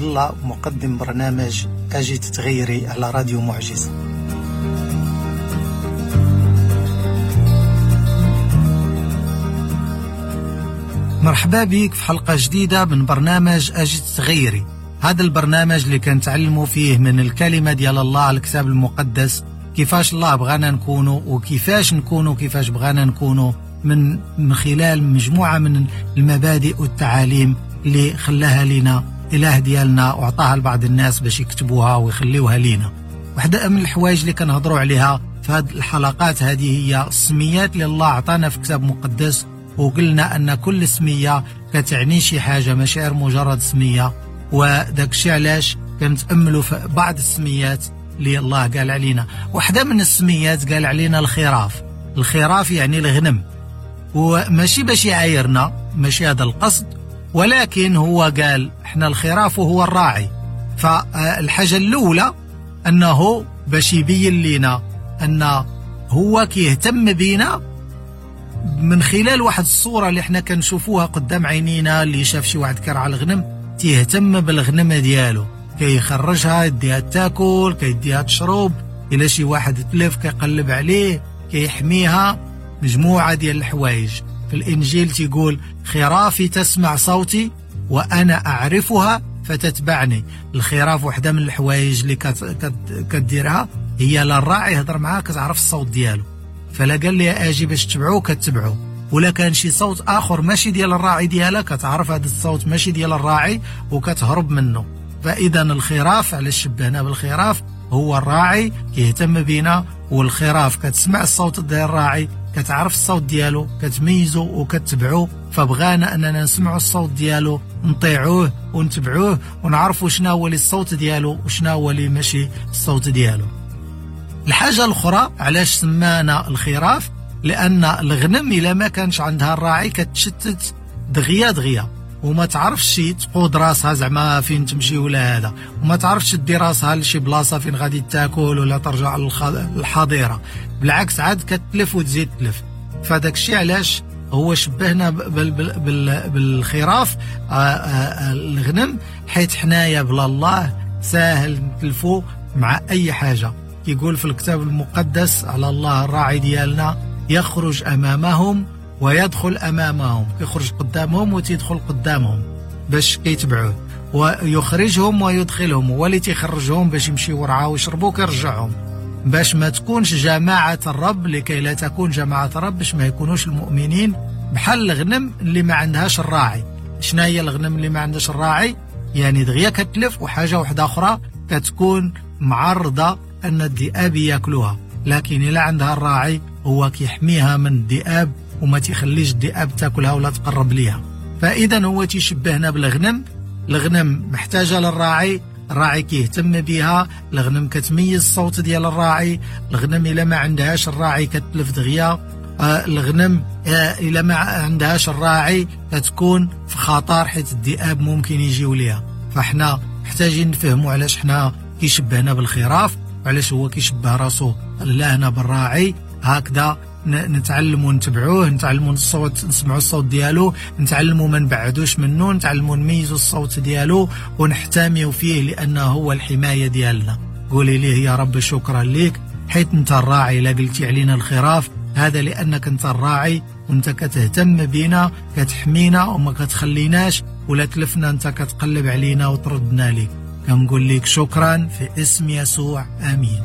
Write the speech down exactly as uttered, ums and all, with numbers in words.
عبد الله، مقدم برنامج أجي تتغيري على راديو معجزة. مرحبا بك في حلقة جديدة من برنامج أجي تتغيري. هذا البرنامج اللي كنتعلموا فيه من الكلمة ديال الله على الكتاب المقدس، كيفاش الله بغانا نكونوا وكيفاش نكونوا كيفاش بغانا نكونوا من من خلال مجموعة من المبادئ والتعاليم اللي خلاها لنا إله ديالنا وعطاها لبعض الناس باش يكتبوها ويخليوها لينا. واحدة من الحوايج اللي كنهضروا عليها في هذه الحلقات هذه هي السميات اللي الله عطانا في كتاب مقدس، وقلنا أن كل سمية كتعني شي حاجة، ماشي غير مجرد سمية. وداك الشيء علاش كنتأملوا في بعض السميات اللي الله قال علينا. واحدة من السميات قال علينا الخراف. الخراف يعني الغنم، وماشي باش يعايرنا، ماشي هذا القصد، ولكن هو قال احنا الخراف وهو الراعي. فالحاجة الأولى أنه باش يبين لنا أن هو كيهتم بينا من خلال واحد الصورة اللي احنا كنشوفوها قدام عينينا. اللي شاف شي واحد كرع الغنم تيهتم بالغنم ديالو، كيخرجها يديها تاكل، كيديها تشرب، إلا شي واحد تلف كيقلب عليه، كيحميها، مجموعة ديال الحوايج. في الإنجيل تيقول خرافي تسمع صوتي وأنا أعرفها فتتبعني. الخراف وحدة من الحوايج اللي كديرها هي للراعي يهضر معاه كتعرف الصوت ديالو، فلا قال لي أجي باش تبعو كتبعو، ولا كان شي صوت آخر ماشي ديال الراعي ديالها كتعرف هذا الصوت ماشي ديال الراعي وكتهرب منه. فإذا الخراف، علاش شبهنا بالخراف؟ هو الراعي كيهتم بينا، والخراف كتسمع الصوت ديال الراعي، كتعرف الصوت ديالو، كتميزو وكتبعو. فبغانا أننا نسمعوا الصوت ديالو، نطيعوه ونتبعوه، ونعرفوا شنو هو اللي الصوت ديالو وشنو هو اللي ماشي الصوت ديالو. الحاجة الأخرى علاش سمانا الخراف، لأن الغنم إلا ما كانش عندها الراعي كتشتت دغيا دغيا، وما تعرفش تقود راسها زعما فين تمشي ولا هذا، وما تعرفش تدي راسها لشي بلاصة فين غادي تاكل ولا ترجع للحظيرة، بالعكس عاد كتلف وتزيد تلف. فداك الشيء علاش هو شبهنا بالخراف الغنم، حيت حنايا بلا الله ساهل نتلفو مع أي حاجة. يقول في الكتاب المقدس على الله الراعي ديالنا يخرج أمامهم ويدخل أمامهم، يخرج قدامهم وتدخل قدامهم باش كيتبعوه، ويخرجهم ويدخلهم، هو اللي تيخرجهم باش يمشيو ورعاو ويشربوا كيرجعهم، باش ما تكونش جماعة الرب، لكي لا تكون جماعة الرب، باش ما يكونوش المؤمنين بحال الغنم اللي ما عندهاش الراعي. شنو هي الغنم اللي ما عندهاش الراعي؟ يعني دغيا كتلف، وحاجة واحدة أخرى كتكون معرضة أن الذئاب ياكلوها. لكن إلا عندها الراعي هو كيحميها من الذئاب وما تيخليش الذئاب تاكلها ولا تقرب ليها. فإذا هو تيشبهنا بالغنم. الغنم محتاجة للراعي، الراعي كيهتم بها، الغنم كتميز الصوت ديال الراعي، الغنم إلا ما عندهاش الراعي كتلف دغيا، آه الغنم آه إلا ما عندهاش الراعي كتكون في خطر حيت الذئاب ممكن يجيو ليها. فاحنا محتاجين نفهموا علاش حنا كيشبهنا بالخراف، وعلاش هو كيشبه راسو الله بالراعي. هكذا نتعلموا نتبعوه، نتعلموا الصوت، نسمعوا الصوت ديالو، نتعلموا ما نبعدوش منه، نتعلموا نميزوا الصوت ديالو ونحتميوا فيه لأنه هو الحماية ديالنا. قولي ليه يا رب شكرا ليك حيت انت الراعي، لا قلتي علينا الخراف هذا لأنك انت الراعي وانت كتهتم بينا، كتحمينا وما كتخليناش، ولا تلفنا انت كتقلب علينا وتردنا ليك. كنقول لك شكرا في اسم يسوع، آمين.